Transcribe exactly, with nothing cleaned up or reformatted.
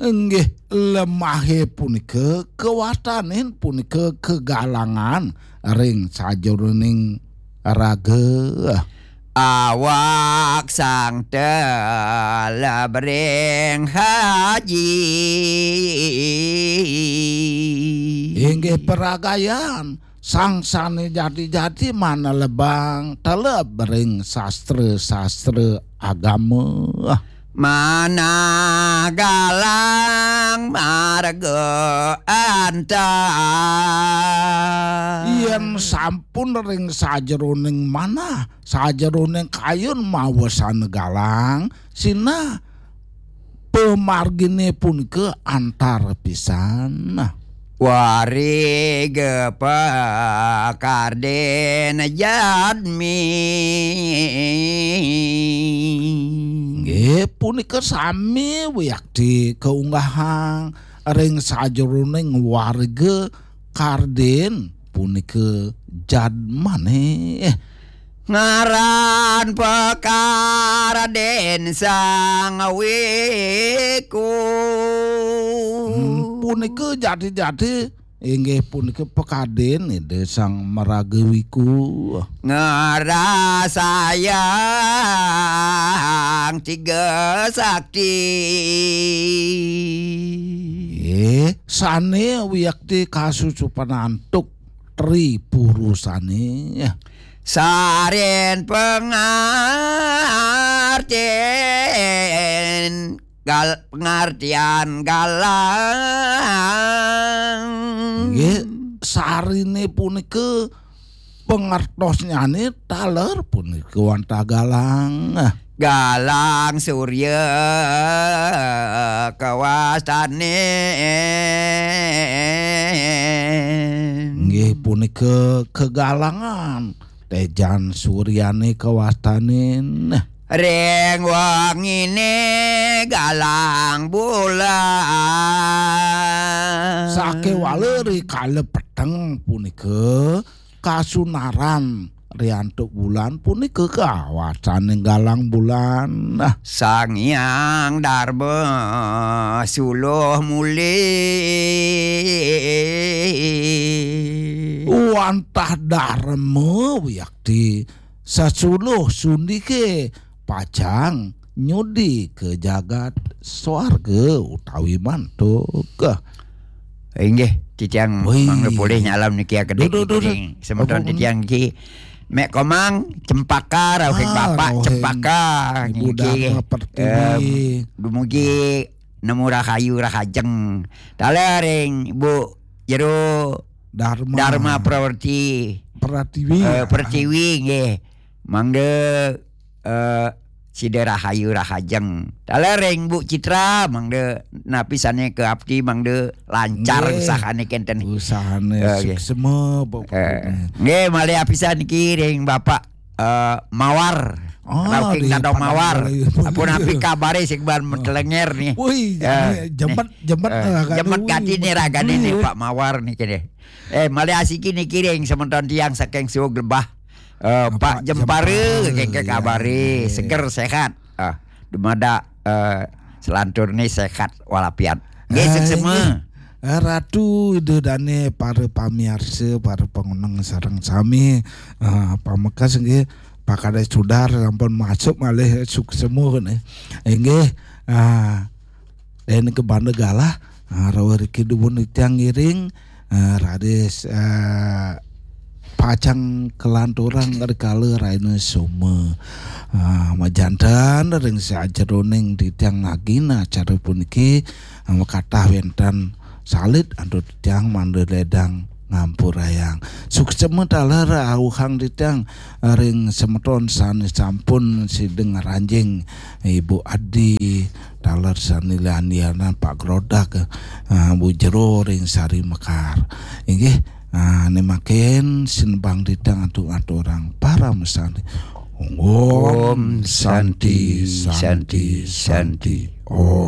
Inggih, lemahé punika kawastanin punika kagalangan ring sajeroning raga. Awak sang teleb ring haji. Inggih paragayan, sang sané jati-jati manelebang teleb ring sastra-sastra agama. Manah galang marga antar. Yén sampun ring sajeroning manah, sajeroning kayun mawesana galang, sinah pamarginé punika antar pisan. Wariga pakardin jadmi. Nggih, punika sami wiakti kaunggahang ring sajeroning wariga kardin punika jadmané. Ngaran pakardin sang wiku. Hmm, punika jati-jati inggih punika pakardin Ida Sang Maraga Wiku. Ngrasayang tiga sakti. Nggih, sané wiakti kasusupan antuk tri purusané. Sarin pangartin gal pengartian galang. Nggih, sariné punika pangertosnyané taler punika wantah galang. Galang surya kawastanin. Nggih, punika kagalangan téjan suryané kawastanin. Ring wenginé galang bulan. Sakéwala ri kala peteng punika kasunaran ri antuk bulan punika kawastanin galang bulan. Nah, Sang Hyang Darma suluh muli. Wantah darma wiakti sasuluh sundiké pacang nyudi ka jagat swarga utawi mantuk. Inggih, titiang Wih. Mangda polih nyalam niki akedék Duh, duh, duh, niki duh. Ring semeton Apa titiang niki. Mek Komang Cempaka rauhing Ah, Bapak rauhing Cempaka Ibu niki. Dharma Pertiwi. Em, dumugi nemu rahayu rahajeng. Taler ring Ibu Jero Dharma. Dharma Prawerti. Pertiwi. Eh, Pertiwi nggih. Mangda eh, sida rahayu rahajeng. Taler ring Bu Citra, mangda napi sané kaapti, mangda lancar Nggih. Usahané kénten. Usahané Eh, nggih. Suksema, Bapak. Eh, nggih, malih apisan niki ring Bapak eh, Mawar. Ah, Rauking ring Dadong Padang Mawar. Melayu. Ampun api kabaré sing ban metelenger nih. Wih, Eh, jemet, nih. Jemet Eh, ragané, jemet wih, gati nih betul, ragané nih, wih. Pak Mawar nih kéné. Eh, malih asiki niki ring semeton tiang saking Suwug Lebah. Eh, Pak Pak Jempara, Jempara, kéngkén iya, kabaré, iya. Seger, sehat. Ah, dumadak eh, selanturné sehat walafiat. Nggih, eh, suksema. Nggih. Eh, Ratu Ida Dané, para pamiarsa, para pangoneng sareng sami, eh, pamekas nggih, Pak Kadés Sudar sampun masuk malih suksema nih. Inggih, ah, Dén kebanda galah, ah, rauh riki dumun titiang ngiring, ah, raris, ah, pacang kalanturang rikala rahina Soma. Ah, majanten ring sajeroning titiang ngagina acara puniki, ah, makatah wénten salit antuk titiang mangda lédang ngampurayang. Suksema taler auhang titiang ring semeton sané sampun sida ngranjing Ibu Adi, taler sané lian-lianan Pak Grodak, ah, Bu Jero ring Sari Mekar. Inggih, ah, né mangkin sinebang titiang antuk ngaturang parama santi. Om Santi, Santi, Santi. Om.